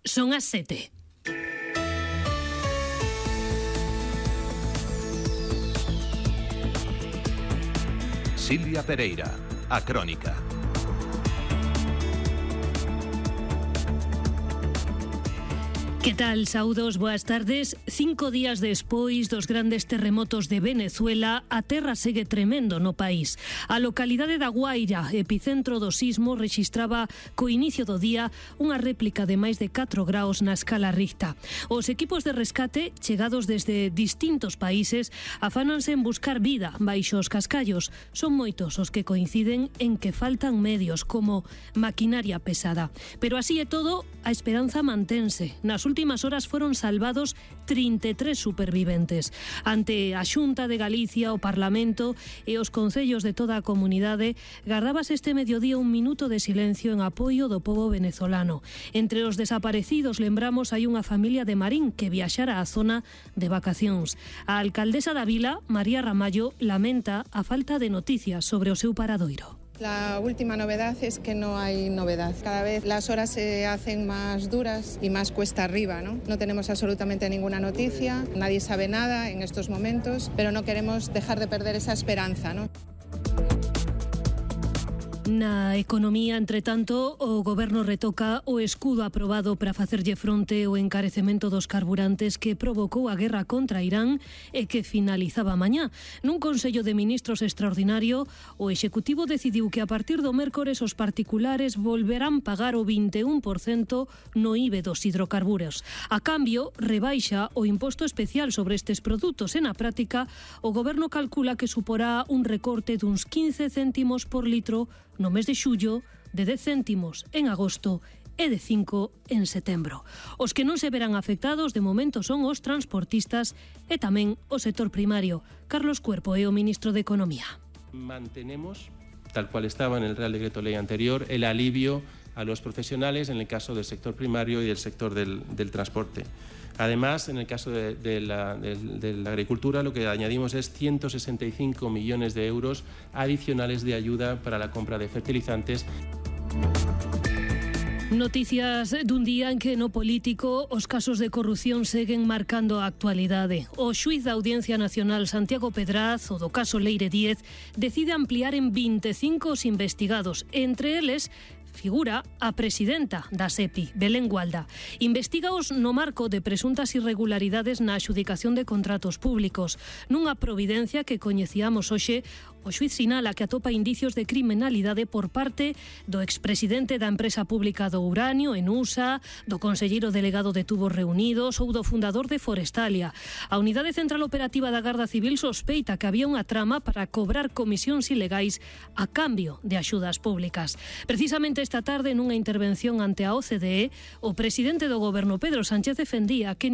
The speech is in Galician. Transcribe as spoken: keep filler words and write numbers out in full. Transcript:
Son as sete. Silvia Pereira, a Crónica. Que tal, saudos, boas tardes. Cinco días despois dos grandes terremotos de Venezuela, a terra segue tremendo no país. A localidade da Guaira, epicentro do sismo, rexistraba co inicio do día unha réplica de máis de catro graus na escala Richter. Os equipos de rescate, chegados desde distintos países, afánanse en buscar vida baixo os cascallos. Son moitos os que coinciden en que faltan medios como maquinaria pesada. Pero así é todo, a esperanza mantense. Nas últimas horas foron salvados trinta e tres superviventes. Ante a Xunta de Galicia, o Parlamento e os concellos de toda a comunidade, gardábase este mediodía un minuto de silencio en apoio do pobo venezolano. Entre os desaparecidos, lembramos, hai unha familia de Marín que viaxara á zona de vacacións. A alcaldesa da vila, María Ramallo, lamenta a falta de noticias sobre o seu paradoiro. La última novedad es que no hay novedad. Cada vez las horas se hacen más duras y más cuesta arriba, ¿no? No tenemos absolutamente ninguna noticia, nadie sabe nada en estos momentos, pero no queremos dejar de perder esa esperanza, ¿no? Na economía, entre tanto, o Goberno retoca o escudo aprobado para facerlle fronte ao encarecemento dos carburantes que provocou a guerra contra Irán e que finalizaba mañá. Nun Consello de Ministros extraordinario, o Executivo decidiu que a partir do mércores os particulares volverán pagar o vinte e un por cento no I V E dos hidrocarburos. A cambio, rebaixa o imposto especial sobre estes produtos. E na práctica, o Goberno calcula que suporá un recorte duns quince céntimos por litro no mes de xullo, de dez céntimos en agosto e de cinco en setembro. Os que non se verán afectados de momento son os transportistas e tamén o sector primario. Carlos Cuerpo é o ministro de Economía. Mantenemos, tal cual estaba en el Real Decreto Ley anterior, el alivio a los profesionales en el caso del sector primario y del sector del, del transporte. Además, en el caso de, de, la, de, de la agricultura, lo que añadimos es ciento sesenta y cinco millones de euros adicionales de ayuda para la compra de fertilizantes. Noticias dun día en que no político os casos de corrupción seguen marcando a actualidade. O xuíz da Audiencia Nacional Santiago Pedraz, o do caso Leire Díez, decide ampliar en vinte e cinco os investigados, entre eles figura a presidenta da SEPI, Belén Gualda. Investígaos no marco de presuntas irregularidades na adxudicación de contratos públicos. Nunha providencia que coñecíamos hoxe, o xuíz sinala que atopa indicios de criminalidade por parte do expresidente da empresa pública do uranio, Enusa, do conselleiro delegado de Tubos Reunidos ou do fundador de Forestalia. A Unidade Central Operativa da Garda Civil sospeita que había unha trama para cobrar comisións ilegais a cambio de axudas públicas. Precisamente esta tarde, nunha intervención ante a O C D E, o presidente do Goberno, Pedro Sánchez, defendía que